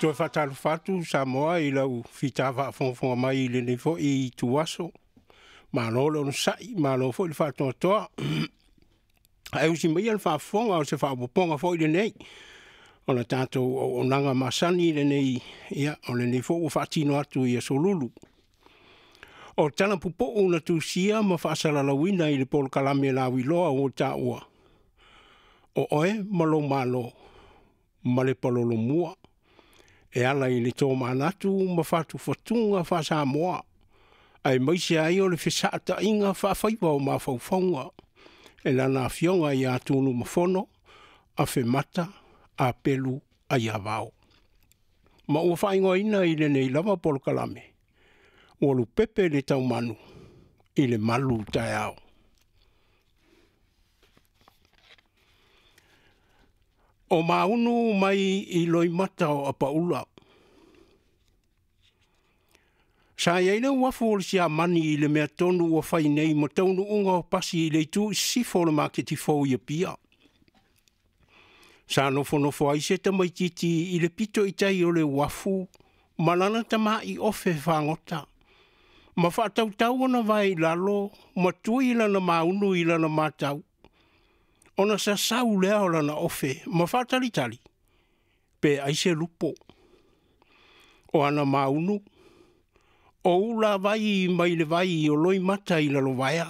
Toe faatalofa atu Samoa i lau fita faafogafoga mai i lenei foi ituaso. Malo le onosai, malo foi le faatoatoa. Ae usi maia le faafofoga o se faaopoopoga foi lenei o le tatou auaunaga masani lenei, ia, o lenei foi ua faatino atu i Aso Lulu. O tala pupuu na tusia ma faasalalauina i le polokalame lauiloa ua taua, o Oe ma Lou Malo ma le Palolomua, e ala i le tomanatu ma fatufatuga faa-Samoa, aemaise ai o le fesaataiga faafaiva o mafaufauga e Lana Afioga ia Tunumafono Afemata Apelu Aiavao. Ma ua faaigoaina i lenei lava polokalame, ua lupepe le taumanu i le malu taeao. O Maunu mai i Loimata o Apaula. Sa i ai le uafu o le Siamani i le mea tonu ua fai nei ma taunuuga o pasi i le itu i sisifo o le maketi fou i Apia. Sa nofonofo ai se tamaitiiti i le pito i tai o le uafu ma lana tamai ofe fagota, ma faatautau ona vae i lalo ma tui lana maunu i lana matau, ona sasau lea o lana ofe ma faatalitali pe ai se lupo. O ana maunu, o ulavai mai le vai o Loimata i Lalovaea.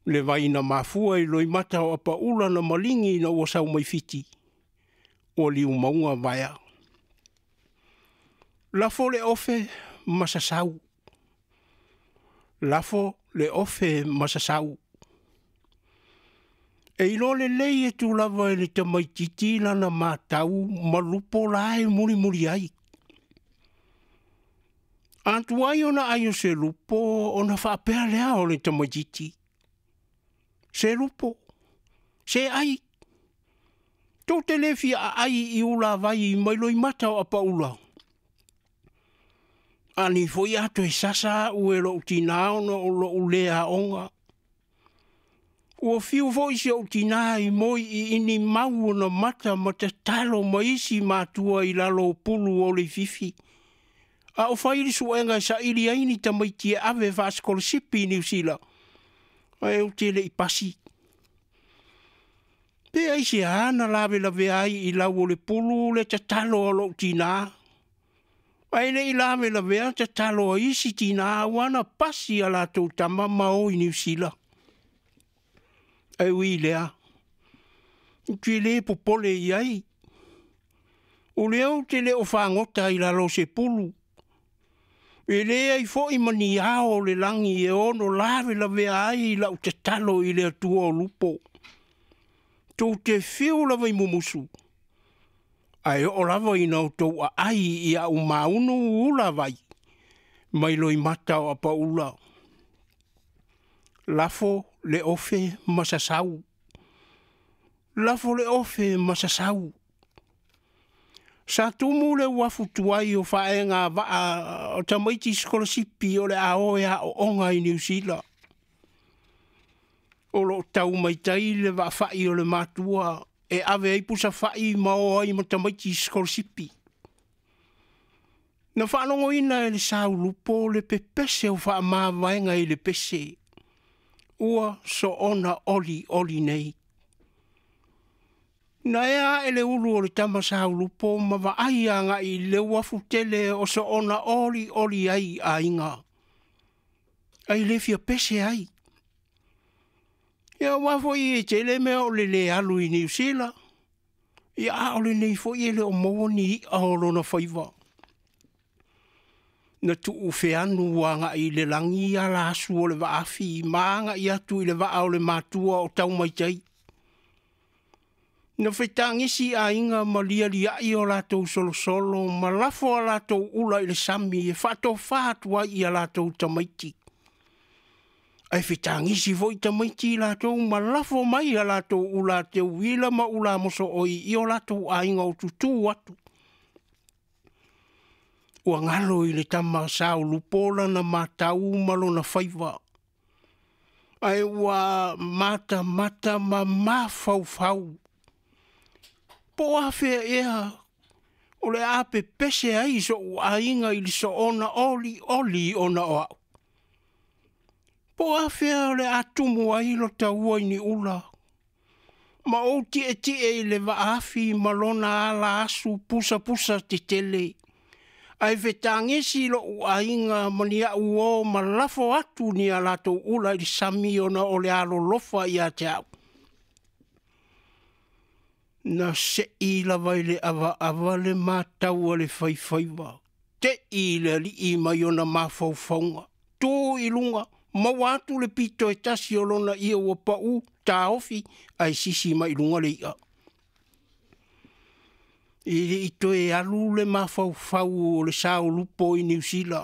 Le vai na mafua i Loimata o Apaula na maligi ina ua sau mai Fiti, ua liumauga vaea. Lafo le ofe ma sasau, lafo le ofe ma sasau. E iloa lelei atu lava e le tamaitiiti lana matau ma lupo la e mulimuli ai. A tuai ona ai o se lupo ona faapea lea o le tamaitiiti, se lupo, se ai, tou te le fia aai i ulavai mai Loimata o Apaula. A nei foi a toe sasa au e lou tinā ona o lou le aoga. Ua fiu foi si ou tinā i moi i ini mau ona mata ma tatalo ma isi matua i lalo o pulu o Leififi, a o fai le suega e saili ai ni tamaiti e ave faasikolasipi i Niu Sila, ae ou te le i pasi. Pe aisea na lavelavea ai i lau o le pulu le tatalo a lou tinā, ae le i lavelavea tatalo a isi tinā aua na pasi a latou tama ma o i Niu Sila. Ae ui i lea, ou te le popole i ai, o lea ou te le o fagota i lalo o se pulu, e leai foi ma ni ao o le lagi e ono lavelavea ai lau tatalo i le Atua o lupo. Tou te fiu lava i mumusu, ae oo lava ina outou aai i au maunu ulavai mai Loimata o Apaula. Lafo le ofe ma sasau, lafo le ofe ma sasau. Sa tumu le uafu tuai o faega vaa o tamaiti sikolasipi o le a o e aooga i Niu Sila. O lo o tau mai tai le vaafai o le matua e ave ai pusafai ma o ai ma tamaiti sikolasipi. Na faalogoina e le saulupo le pepese o faamavaega i le pese, ua soona oli oli nei. Na ea ae le ulu o le tama saulupo ma vaai agai i le uafu tele o soona oli oli ai aiga, ai le fia pese ai. Ia aua foi e tele mea o le le alu i Niu Sila, ia a o lenei foi e le o maua ni i'a o lona faiva. Na tuu feanu agai i le lagi ala asu o le vaafi ma agai atu i le vaa o le matua o tau mai tai. Na fetagisi aiga ma lialiai o latou solosolo ma lafo a latou ula i le sami e faatofa atu ai i a latou tamaiti. Ae fetagisi foi tamaiti i latou ma lafo mai a latou ula teuila ma ula mosooi i o latou aiga o tutū atu. Ua galo i le tama saulupo lana matau ma lona faiva, ae ua matamata ma mafaufau. Po o afea ea O le a pepese ai so'u aiga i le soona olioli ona o a'u? Po o afea o le a tumu ai lo taua i Ni'ula ma ou tietie i le vaafi ma lona ala asu pusapusa tetele, ae fetagisi lo'u aiga ma ni a'u uo ma lafo atu ni a latou ula i le sami ona o le alolofa ia te a'u? Na se'i lava i le avaava le matau a le faifaiva, te'i le alii mai ona mafaufauga, tu i luga, maua atu le pito e tasi o lona ie ua pa'u, taofi ae sisi mai i luga le i'a. E le i toe alu le mafaufau o le saolupo i Niu Sila,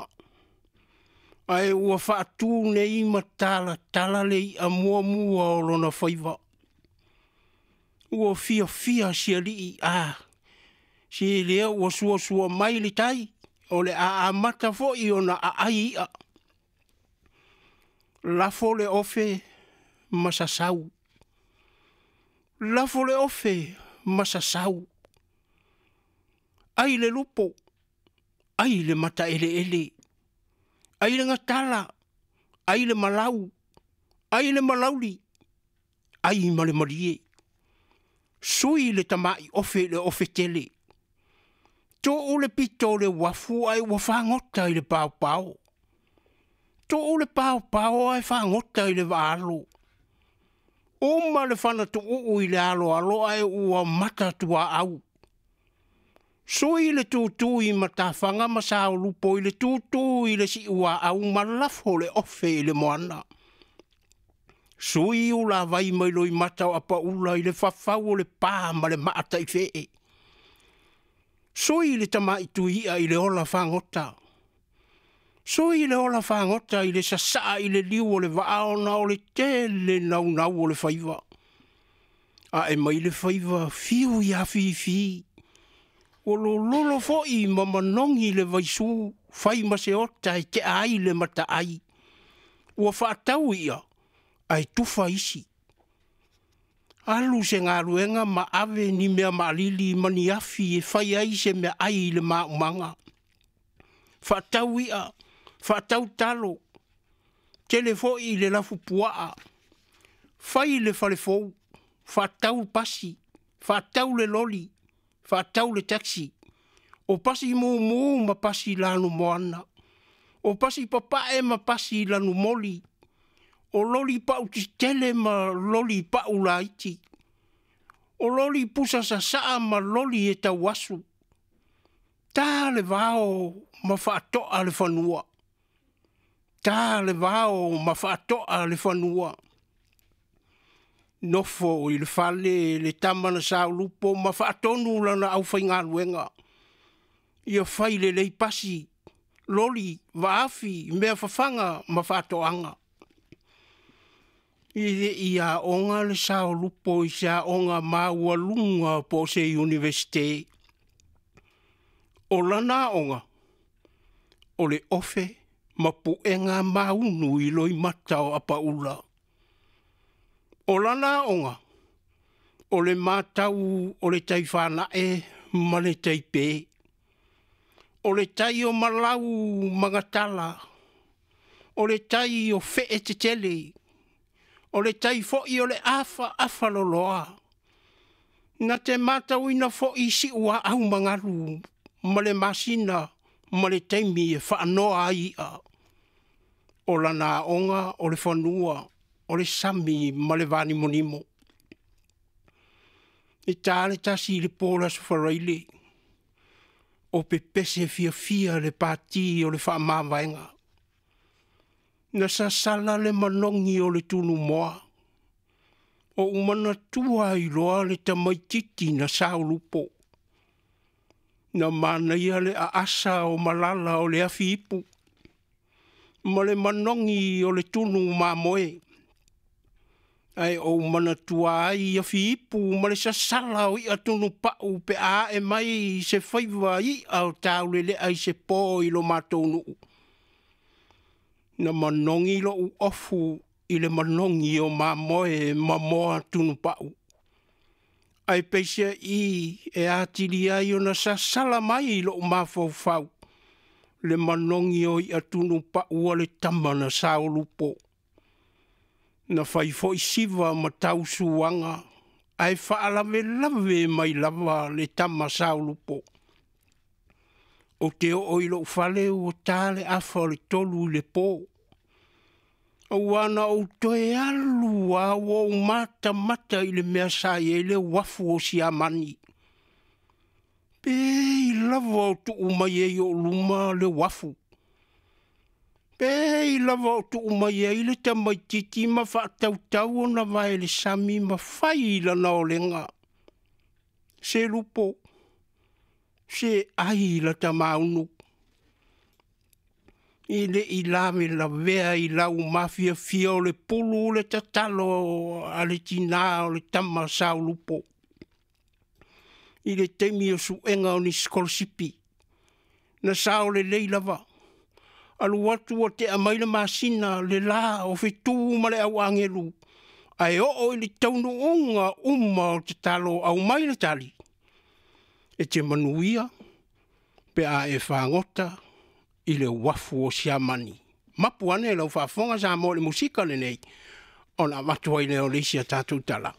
ae ua faatu nei ma talatala le i'a muamua o lona faiva. Ua fiafia si alii, a, se lea ua suasua mai le tai, o le a amata foi ona aai i'a. Lafo le ofe ma sasau, lafo le ofe ma sasau, ai le lupo, ai le mataeleele, ai le gatala, ai le malau, ai le malauli, ai ma le malie. Sui le tama'i ofe i le ofe tele. Tuu le pito o le uafu ae ua fagota i le paopao. Tuu le paopao ae fagota i le vaaalo. Uma le fana tuuu i le aloalo ae ua mata tuaau. Sui le tutū i matafaga ma saolupo i le tutū i le siuaau ma lafo le ofe i le moana. Sui ulavai mai loimata o apaula i le fafau o le pa ma le maa taifee. Sui le tama'i tui'a i le ola fagota. Sui le ola fagota i le sasaa i le liu o le vaa ona o le tele naunau o le faiva. A'e mai le faiva fiu ia fifi. Ua lololo foi ma manogi le vaisū, fai ma se ota e tea ai le mataai. Ua faatau i'a, ae tufa isi. Alu se galuega ma ave ni mea maalili ma ni afi e fai ai se meaai i le maumaga. Faatau i'a, faatau talo, tele foi le lafupuaa, fai le fale fou, faatau pasi, faatau le loli, faatau le taxi, o pasi mumu ma pasi lanumoana, o pasi papae ma pasi lanumoli, o loli pau tetele ma loli pau laiti, o loli pusa sasaa ma loli e tauasu. Tā le vao ma faatoa le fanua. Tā le vao ma faatoa le fanua. Nofo i le fale le tama na saolupo ma faatonu lana aufaigaluega. Ia fai lelei pasi, loli, vaafi, mea fafaga ma faatoaga. E le i aoga le saolupo i se aoga maualuga po o se iunivesite. O lana aoga, o le ofe ma puega maunu i loimata o apaula. O lana aoga, o le matau o le tai fanae ma le tai pē. O le tai o malau ma gatala, o le tai o fee tetele, o le tai foi o le afaafa loloa. Na te matauina foi siuaau magalu ma le masina ma le taimi e faanoa ai i'a. O lana aoga o le fanua, o le sami ma le vanimonimo. E tā le 1 i le po o le Aso Faraile, o pepese fiafia le pati o le faamavaega. Na sasala le manogi o le tunumoa. Ou manatua ai loa le tamaititi na saolupo. Na manaia le aasa o malala o le afi ipu, ma le manogi o le tunu mamoe. Ae ou manatua ai afi ipu ma le sasala o i'a tunupa'u pe a a'e mai se faiva i'a o taulele'a i se po i lo matou nu'u. Na manogi lo'u ofu i le manogi o mamoe ma moa tunupa'u. Ae peiseai e atili ai ona sasala mai i lou mafaufau le manogi o i'a tunupau a le tama na saolupo. Na fai foi siva ma tausuaga, ae faalavelave mai lava le tama saolupo. Ou te oo i lou fale ua ta le 2:30 i le po. Aua na ou toe alu lava ua ou matamata i le mea sa i ai le uafu o Siamani. Pe i lava o tuu mai ai i ou luma le uafu. Pe i lava o tuu mai ai le tamaitiiti ma faatautau ona vae i le sami ma fai lana olega. Se lupo, se ai lata maunu. E le i lavelavea i lau mafiafia o le pulu le tatalo a le tina o le tama saolupo. I le taimi o suega o ni sikolasipi, na sao lelei lava. Alu atu ua tea mai le masina, le la o fetu ma le au agelu, ae oo i le taunuuga uma o tatalo, aumai le tali, e te manuia pe a e fagota i le uafu o Siamani. Mapu ane lau faafofoga Samoa i le musika lenei, ona avatu ai lea o le isi a tatou tala.